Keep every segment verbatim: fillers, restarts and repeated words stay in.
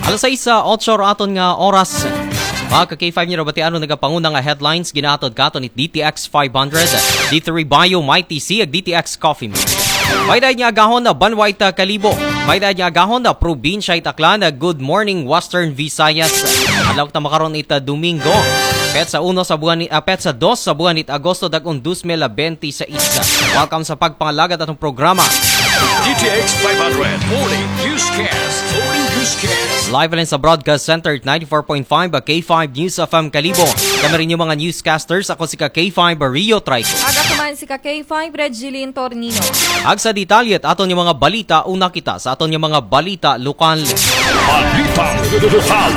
Alas sais, ah, otso ra aton nga oras. Mga ka K five, niyo batian ang nagapanguna nga headlines, ginahatod katon it D T X five hundred, D three Bio, Mighty C, ag D T X Coffee Mix. May dahil nga agahon na Banwa it Kalibo. May dahil nga agahon na probinsya it Aklan. Good morning, Western Visayas. Adlaw ta makaron it Domingo. Petsa uno sa buwan ni, ah, petsa dos sa buwan it Agosto, dag-on dos mil benti sais. Welcome sa pagpangalagad atong programa. D T X five hundred Morning Newscast. Morning Newscast. Live and sa Broadcast Center, ninety-four point five K five News F M Kalibo. Kami rin yung mga newscasters. Ako si ka K five Rio Trico. Ag ako man si ka K five Regilin Tornino. Ag sa detalye at aton yung mga balita, una kita sa aton yung mga balita lokal. Balita lokal.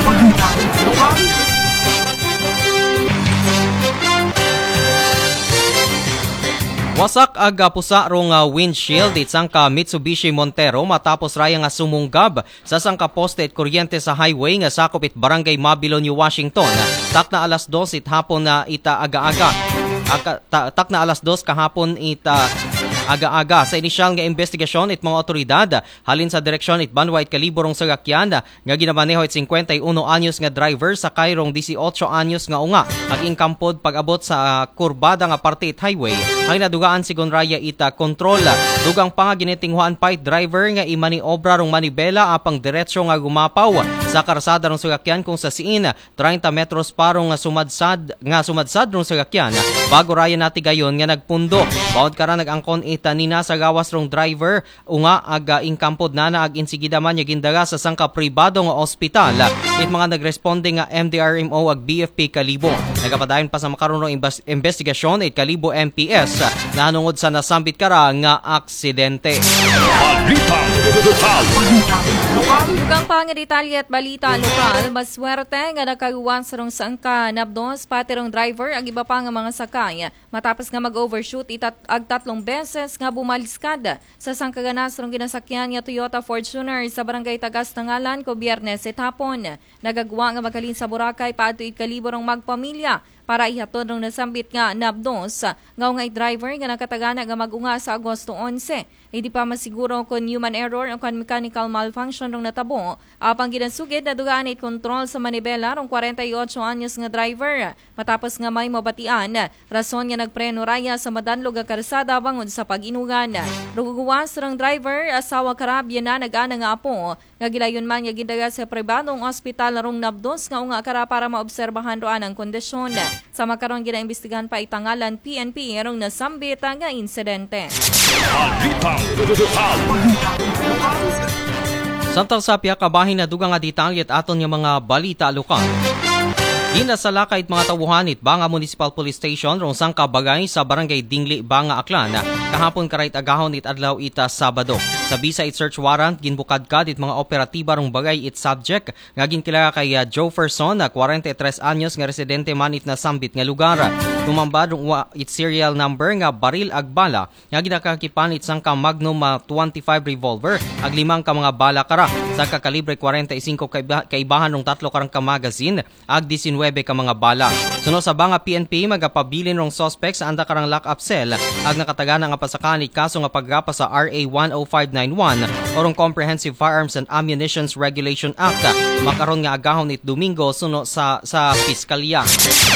Wasak ag, ah, pusa rong, ah, windshield it sangka Mitsubishi Montero matapos raya nga sumunggab sa sangka poste it kuryente sa highway nga sakop it Barangay Mabilonio, Washington. Takna alas dos it hapon na ita aga-aga. Aka-, ta-, takna alas dos kahapon ita aga-aga. Sa inisyal nga investigasyon it mga otoridad, halin sa direksyon it Banwa it Kalibo rong sasakyan nga ginamaneho it singkwenta y uno anyos nga driver sakay rong disiotso anyos nga unga. Ag ingkampod pag-abot sa kurbada nga parte it highway, ang nadugaan sigon raya ita kontrol. Dugang pa nga ginitinghuan pa it driver nga imaniobra rong manibela apang diretso nga gumapaw sa karsada rong sasakyan kung sa siin treinta metros pa rong nga sumadsad, nga sumadsad rong sasakyan bago raya natigayon nga nagpundo. Bawod kara nag-angkon ita nina sa gawas rong driver, unga ag, ah, ingkampod nana ag insigida man niya gindala sa sangka pribado nga ospital. It mga nagresponde nga M D R M O ag B F P Kalibo. Nagapadayon pa sa makaron rong imbas-, investigasyon it Kalibo M P S nahanungod sa nasambit kara nga aksidente. Balita lokal. Dugang pa nga detalye at balita lokal, maswerte nga nakaluwas rong sangka nabdos, pati rong driver, ag iba pa nga mga sakay. Matapos nga mag-overshoot itat ag tatlong beses nga bumaliskad sa sangka ganas rong ginasakyan nga Toyota Fortuner sa Barangay Tagas Tangalan ko Biyernes it hapon. Nagagwa nga maghalin sa Boracay paadto it Kalibo rong magpamilya para ihatod rong nasambit nga nabdos nga unga it driver nga nakatagana nga mag-unga sa Agosto onse. Hindi pa masiguro kon human error o kon mechanical malfunction rong natabo. Apang ginasugid, nadugaan it kontrol sa manibela rong kwarenta y otso anyos nga driver. Matapos nga may mabatian, rason nga nagpreno raya sa madanlog nga karsada bangod sa pag-inugan. Ruguwas rong driver, asawa karabya na nag-ana nga apo, nga gilayon man nga gindala sa pribadong ospital rong nabdos nga unga kara para maobserbahan roan ang kondisyon. Sa makaron ginaimbestigahan pa itangalan P N P rong nasambit nga insidente. Balita lokal. Samtang sa pihak ka bahin, nadugang nga detalye at aton nga mga balita lokal. Ginasalakay it mga tawuhan it Banga Municipal Police Station rong sangka bagay sa Barangay Dingli, Banga, Aklan. Kahapon karait agahon it adlaw ita Sabado. Sa bisa it search warrant, ginbukadkad it mga operatiba rong bagay it subject nga ginkilala kay, ah, Joferson, na kwarenta y tres anyos nga residente man it nasambit nga lugar. Tumambad rong wa it serial number nga baril ag bala nga ginakakipan it sangka Magnum, ah, twenty-five revolver ag limang ka mga bala kara, sangka kalibre kwarenta y singko kaiba-, kaibahan rong tatlo karang ka magazine ag disinwebe ka mga bala. Suno sa Banga P N P, magapabilin rong suspect sa anda karang lock-up cell ag nakatagana nga pasakaan it kaso nga pagrapa sa R A one oh five nine one o rong Comprehensive Firearms and Ammunitions Regulation Act. Makaron nga agahon it Domingo suno sa, sa piskalya.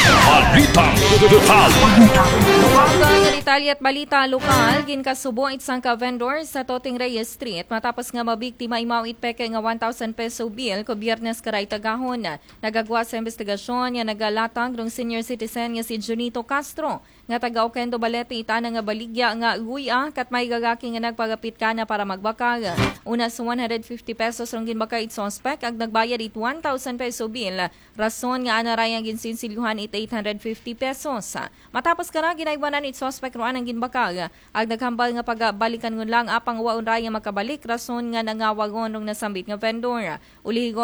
Balita lokal. Sa mga detalye at balita lokal, ginkasubo it sangka vendor sa Toting Reyes Street matapos nga mabiktima imaw it peke nga one thousand peso bill ko Biyernes karait agahon. Nagagwa sa investigasyon nga nagalatag rong senior citizen nga si Junito Castro, nga taga Oquendo, Balete, it ana nga baligya nga guya kat may lalaki nga nagpagapit kana para magbakal. Una sa one hundred fifty pesos rong ginbakal it suspect ag nagbayad it one thousand peso bill. Rason nga ana raya nga ginsinsilyuhan it eight hundred fifty pesos. Matapos kara, ginaywanan it suspect roan ang ginbakal ag naghambal nga pagabalikan ngun lang apang waon raya makabalik, rason nga nangawagon rong nasambit nga vendor. Ulihigon